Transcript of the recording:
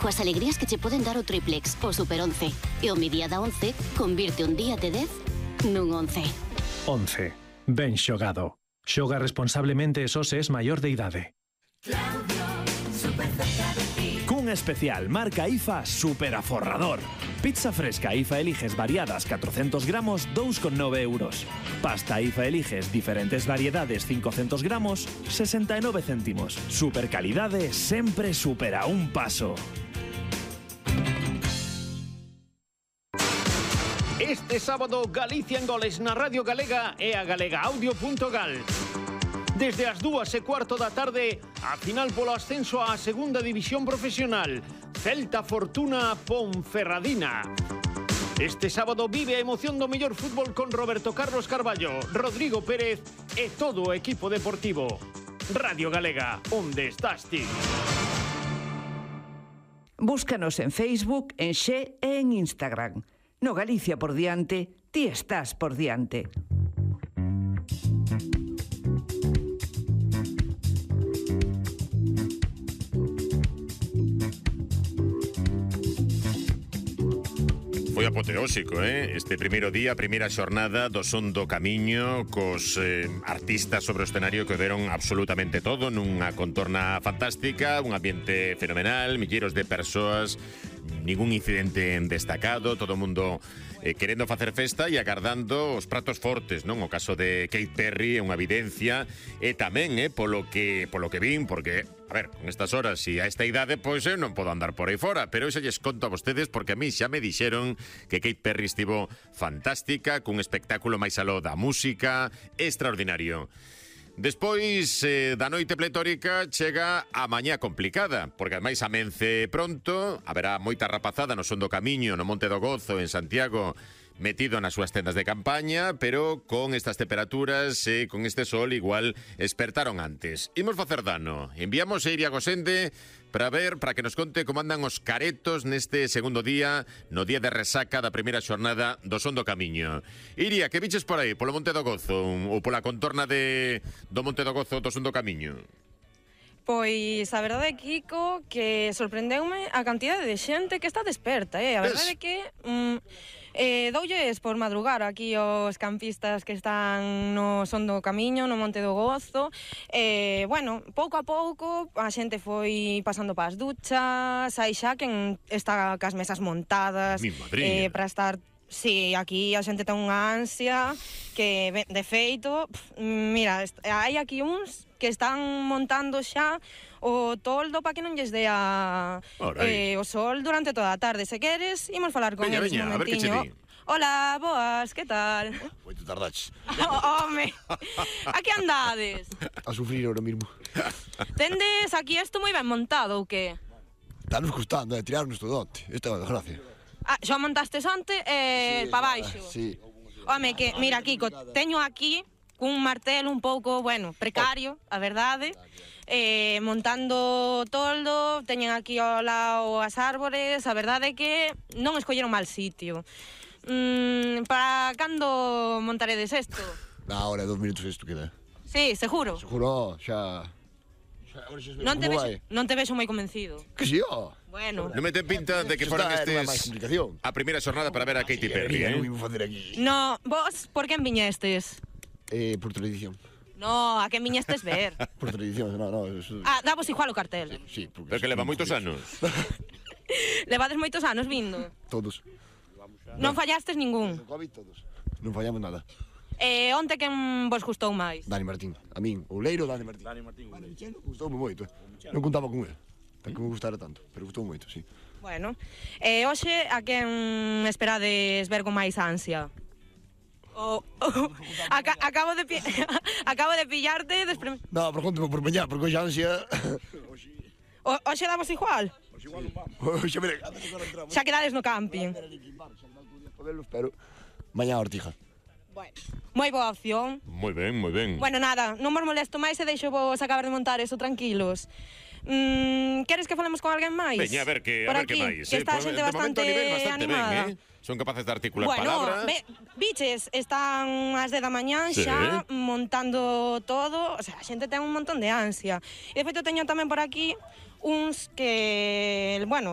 coas alegrías que che poden dar o triplex, o super 11. E o mi día da 11 convirte un día de 10 nun 11. 11. Ben xogado. Xoga responsablemente e só se es maior de idade. Cun especial marca IFA super aforrador. Pizza fresca IFA Eliges variadas 400 gramos 2,9 euros. Pasta IFA Eliges diferentes variedades 500 gramos 69 céntimos. Super calidade sempre supera un paso. Este sábado Galicia en goles na Radio Galega e a galegaaudio.gal. Desde as 2:15 da tarde, a final polo ascenso á segunda división profesional. Celta Fortuna Ponferradina. Este sábado vive a emoción do mellor fútbol con Roberto Carlos Carballo, Rodrigo Pérez e todo o equipo deportivo. Radio Galega, onde estás ti? Búscanos en Facebook, en Xe e en Instagram. No Galicia por diante, ti estás por diante. Foi apoteósico, este primeiro día, primeira xornada do Son do Camiño, cos artistas sobre o escenario que deron absolutamente todo nunha contorna fantástica, un ambiente fenomenal, milleiros de persoas, ningún incidente destacado, todo o mundo querendo facer festa e agardando os pratos fortes, non? O caso de Katy Perry é unha evidencia, e tamén polo que vin, porque, a ver, con estas horas e a esta idade, pois eu non podo andar por aí fora, pero eu xa lles conto a vostedes porque a mí xa me dixeron que Katy Perry estivo fantástica, cun espectáculo máis aló da música, extraordinario. Despois da noite pletórica chega a mañá complicada, porque ademais amence pronto, haberá moita rapazada no Son do Camiño, no Monte do Gozo, en Santiago, metido nas súas tendas de campaña, pero con estas temperaturas e con este sol igual espertaron antes. Imos facer dano. Enviamos a Iria Gosende para que nos conte como andan os caretos neste segundo día, no día de resaca da primeira xornada do Son do Camiño. Iria, que biches por aí, polo Monte do Gozo ou pola contorna do Monte do Gozo do Son do Camiño? Pois a verdade, Kiko, que sorprendeume a cantidade de xente que está desperta, A verdade é que doulles por madrugar aquí os campistas que están no Son do Camiño, no Monte do Gozo. Bueno, pouco a pouco a xente foi pasando pas duchas, hai xa quen está cas mesas montadas para estar. Sí, aquí a xente ten unha ansia que, de feito, mira, hai aquí uns que están montando xa o toldo para que non lles dea o sol durante toda a tarde. Se queres, imos falar con eles un momentiño. Hola, boas, que tal? Moito tardaches. Home, a que andades? A sufrir ahora mismo. Tendes aquí isto moi ben montado ou que? Estános costando, tirarnos todo onte. Esta é a desgracia. Xa montastes onte pa baixo? Sí. Home, que, mira, Kiko, teño aquí cun martelo un pouco, bueno, precario, a verdade, montando toldo, teñen aquí ao lado as árbores, a verdade é que non escolleron mal sitio. Para cando montaredes isto? Na hora, 2 minutos isto queda. Sí, seguro? Seguro, xa... Non te vexo moi convencido. Que si, ó. Bueno. Non me ten pinta de que foran estes a primeira xornada para ver a Katy Perry, Non vimos facer aquí. No, vos, por quen viñestes? Por tradición. No, a quen viñestes ver? Por tradición, no. Davos igual o cartel. Sí, pero que leva moitos anos. Levades moitos anos vindo? Todos. Non fallastes ningún? Covid todos. Non fallamos nada. Onte quen vos gustou máis? Dani Martín. A min, o Leiro, Dani Martín. Gustoume moito. Non contaba con ele. Que me gustara tanto, pero gustou moito, sí. Bueno, hoxe a quen esperades ver con máis ansia? Acabo de pillarte despre... No, pero conteme por mañá, porque hoxe ansia... Hoxe damos igual? Hoxe, mire... Xa quedades no camping. Pero mañá a Ortija. Bueno, moi boa opción. Moi ben, moi ben. Bueno, nada, non vos molesto máis e deixo vos acabar de montar eso tranquilos. Queres que falemos con alguén máis? Veña, a ver que máis. Que está a xente bastante animada. Ben, son capaces de articular Bueno, palabras. biches, están ás 10 da mañán xa montando todo. O sea, a xente ten un montón de ansia. E de feito teño tamén por aquí uns que, bueno,